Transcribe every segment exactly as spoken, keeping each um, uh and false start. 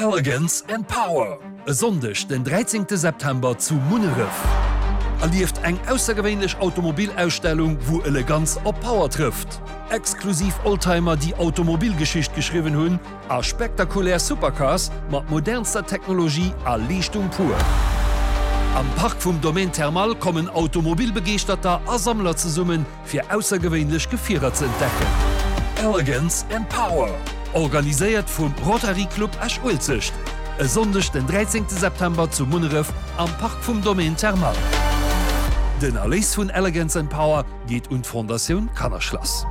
Elegance and Power, e Sonndeg den dräizéngte September zu Munneref. Erlieft eng aussergewéinlech Automobilausstellung, wou Eleganz op Power trëfft. Exklusiv Oldtimer, déi Automobilgeschicht geschriwwen hunn, a spektakulär Supercars mat modernster Technologie a Leeschtung pur. Am Park vum Domaine Thermal kommen Automobilbegeeschterter a Sammler zesummen, fir aussergewéinlech Gefierer ze entdecken. Elegance and Power, organiséiert vum Rotary Club Esch-Uelzecht, e Sonndeg den dräizéngte September zu Munneref am Park vum Domaine Thermal. Den Erléis vun Elegance and Power geet un d'Fondatioun Kannerschlass.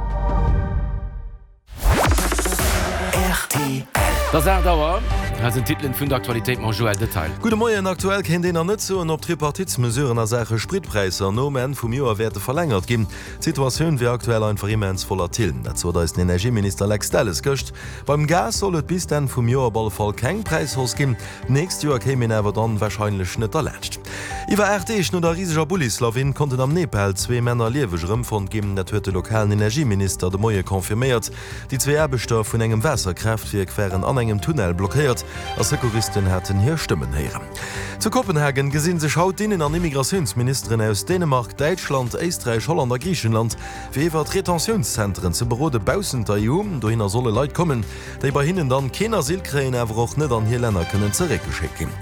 Rtl. Et ass aacht Auer. Hei sinn d'Titelen vun der Aktualitéit mam Joël Detail. Gudde Moien. Aktuell kéint een nach net soen, ob d'Tripartitsmesuren a Saache Spritpräisser nom Enn vum Joer wäerte verlängert ginn. D'Situatioun wier aktuell einfach immens volatil. Dat sot eis den Energieminister Lex Delles gëscht. Beim Gas soll et bis d'Enn vum Joer op alle Fall keng Präishausse ginn. D'nächst Joer kéim een awer dann warscheinlech net derlaanscht. Iwwer aacht Deeg no der riseger Bullislawin konnten am Nepal zwee Männer lieweg erëmfonnt ginn. Dat huet de lokalen Energieminister de Moie confirméiert. Déi zwee Aarbechter vun engem Waasserkraaftwierk waren an engem Tunnel blockéiert a Secouristen haten hir Stëmmen héieren. Zu Kopenhagen gesi sech haut d'Innen an Immigratiounsministeren aus Dänemark, Däitschland, Éisträich, Holland a Griichenland, fir iwwert Retentionszenteren ze berode baussent der E U. Dohinner solle Leit kommen, déi bei hinnen dann keen Asyl kréien, awer och net an hir Länner kënnen zeréckgeschéckt ginn.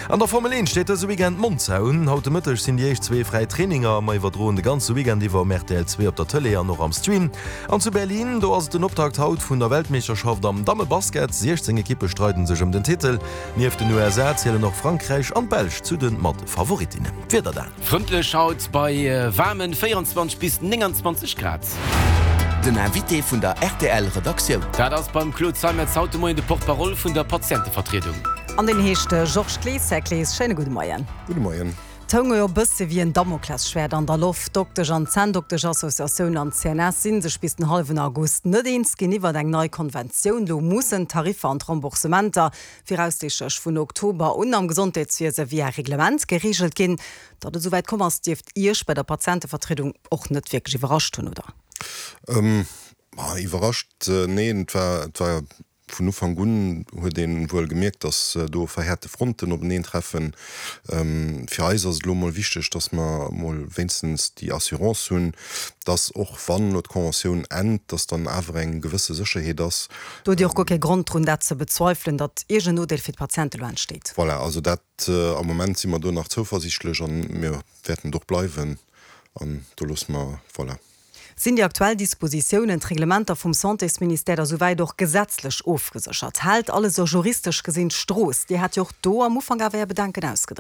An der Formel eent steet dëse Weekend Monza un. Haut de Mëtteg sinn déi éischt zwee fräi Traininger. Mer iwwerdroen de ganze Weekend iwwer um rtl zwee op der Tëlee an och am Stream. An zu Berlin, do ass et den Optakt haut vun der Weltmeeschterschaft am Dammebasket. siechzéng Ekippe streiden sech ëm den Titel. Nieft den U S A zielen och Frankräich an d'Belsch zu de Mat-Favoritinnen. D'Wieder dann. Frëndlech haut bei waarmen véierenzwanzeg bis nénganzwanzeg Grad. Den Invité vun der R T L Redaktioun. Dat ass beim Claude Zeimetz haut de Moien de Porte-parole vun der Patientevertriedung. An deen heescht Georges Clees. Här Clees, schéine gudde Moien. Gudde Moien. Et houng jo e bësse wéi en Damoklesschwäert an der Loft. D'Doktesch an Zänndoktesch-Associatioun an d'C N S si sech bis den hallwen August net eens ginn iwwer eng nei Konventioun. Lo mussen d'Tariffer an d'Remboursementer viraussiichtlech vun Oktober un am Gesondheetswiese via Reglement gereegelt ginn. Datt et esouwäit komm ass, dierft Iech bei der Patientevertriedung och net wierklech iwwerrascht hunn, oder? Ähm, iwwerrascht, neen, et war, et war vun Ufank un huet ee wuel gemierkt, dass do verhäerte Fronten openeen treffen. Ähm, fir eis ass et lo mol wichteg, dass mer mol wéinstens déi Assurance hunn, dass och wann lo d'Conventioun ennt, dass dann awer eng gewësse Sécherheet ass. Do hutt Dir och guer kee Grond drun, dat ze bezweifelen, datt iergend en Nodeel fir d'Patiente lo entsteet? Voilà, also dat, am Moment si mer do nach zouversiichtlech an mir wäerten et och bleiwen an do loosse mer, voilà. Sinn déi aktuell Dispositiounen, d'Reglementer vum Santésministère da souwäit och gesetzlech ofgeséchert? Hält alles sou juristesch gesinn d'Strooss? Dir hat jo och do am Ufank awer Är Bedenken ausgedréckt.